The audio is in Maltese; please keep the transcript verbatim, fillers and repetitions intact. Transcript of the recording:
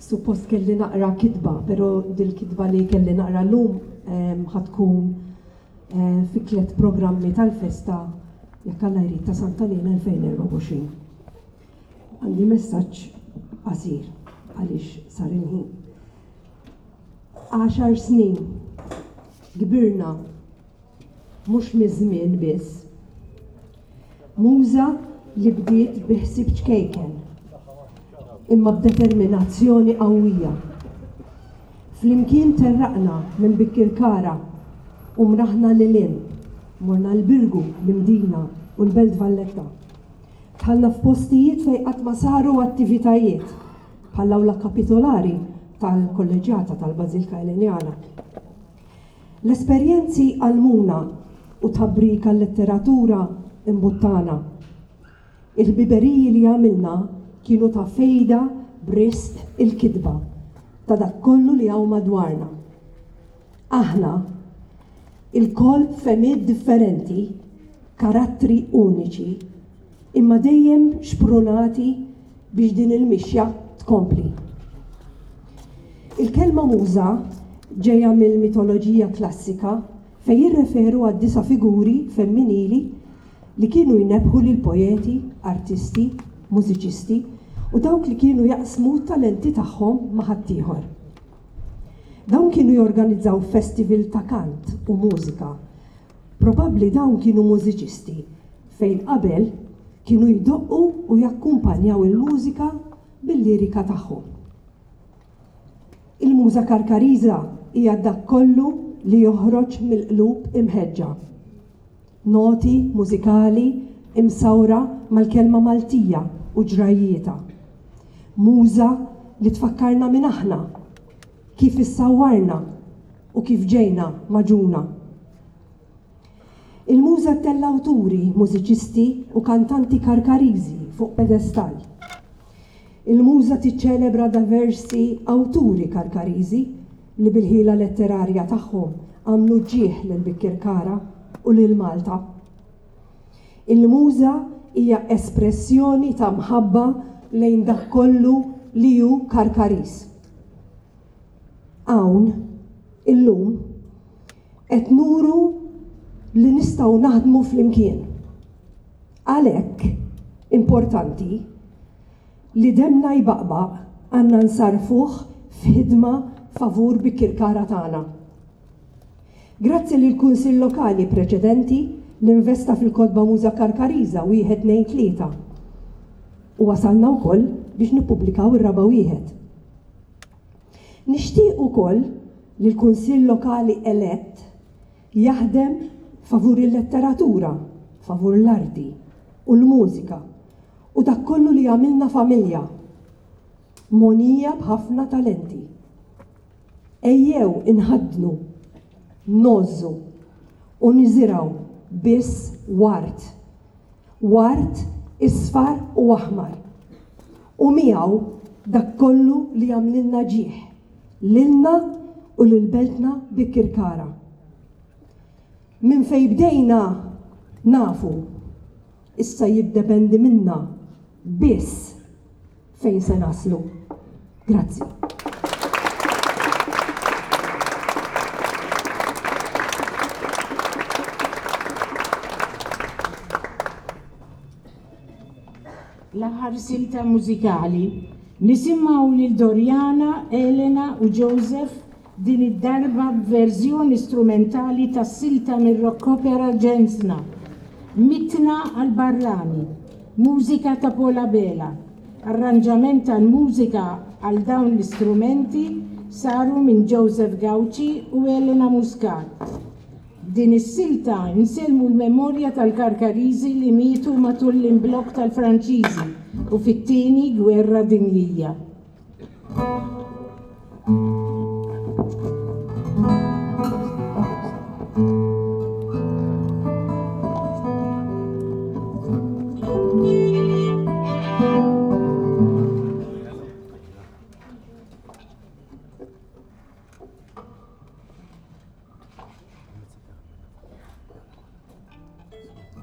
Suppost kelli naqra kitba, però dil-kitba li kelli naqra llum ħa tkun fi tliet programmi tal-festa jekk Alla jrid ta' Santa Liena elfejn erbgħa u għoxrin. Għandi messaġġ qasir għaliex sar il-ħin. Għaxar snin kbirna mhux miż-żmien biss. Muża li bdiet bi ħsieb ċkejken, imma b'determinazzjoni qawwija. Flimkien terraqna minn Bikkirkara u mraħna lil hinn, morna l-Birgu, l-Imdina u l-Belt Valletta. Dħalna f'postijiet fejn qatt ma saru attivitajiet, bħall-awla kapitolari tal-Kolleġġjata tal-Bażilka Elenjana. L-esperjenzi għallmuna u tħabrika l-letteratura imbuttana. Il-ħbiberiji li għamilna kienu ta' fejda b'risq il-kitba ta' dak kollu li hawn madwarna. Aħna, ilkoll b'fehmiet differenti, karattri uniċi, imma dejjem xprunati biex din il-mixja tkompli. Il-kelma muża ġejja mill-mitoloġija klassika fejn jirreferu għad disa' figuri femminili li kienu jnebbħu lil poeti, artisti, mużiċisti u dawk li kienu jaqsmu t-talenti tagħhom ma' ħaddieħor. Dawn kienu jorganizzaw festival ta' kant u mużika. Probabbli dawn kienu mużiċisti fejn qabel kienu jdoqqu u jakkumpanjaw il-mużika bil-lirika tagħhom. Il-muża Karkariża hija dak kollu li joħroġ mill-qlub imħeġġa. Noti mużikali imsawra mal-kelma Maltija u ġrajjietha. Muża li tfakkarna min aħna, kif issawwarna u kif ġejna maġuna. Il-muża ttella' awturi, mużiċisti u kantanti Karkariżi fuq pedestall. Il-muża tiċċelebra diversi awturi Karkariżi li bil-ħila letterarja tagħhom għamlu ġieħ lil Bikkirkara u lil Malta. Il-muża hija espressjoni ta' mħabba lejn dak kollu li hu Karkariż. Hawn, illum, qed nuru li nistgħu naħdmu flimkien. Għalhekk, importanti li demna jbaqbaq għandna nsarfuh f'ħidma favur Bikkirkara tagħna. Grazzi lill Kunsill Lokali preċedenti li investa fil-kotba Muża Karkariża wieħed tnejn tlieta. U wasalna wkoll biex nippubblikaw ir-raba' wieħed. Nixtieq ukoll li l-Kunsill Lokali elett jaħdem favur il-letteratura, favur l-arti u l-mużika u dak kollu li jagħmilna familja, mogħnija b'ħafna talenti. Ejjew inħaddnu, ngħożżu u niżirgħu biss ward, ward isfar u aħmar, u miegħu dak kollu li jagħmlilna ġieħ, lilna u lil beltna Bikkirkara. Minn fejn bdejna nafu, issa jiddependi minna biss fejn se naslu. Grazzi. L-aħħar silta mużikali nisimgħu lil Doriana, Elena u Joseph din id-darba b'verżjoni strumentali tas-silta mir-rock opera Ġensna, Mitna għal Barrani, mużika ta' Paul Abela. Arranġament tal-mużika għal dawn l-istrumenti saru minn Joseph Gauci u Elena Muscat. Din is-silta nsellmu l-memorja tal-Karkariżi li mietu matul l-imblokk tal-Franċiżi u fit-tieni gwerra dinjija.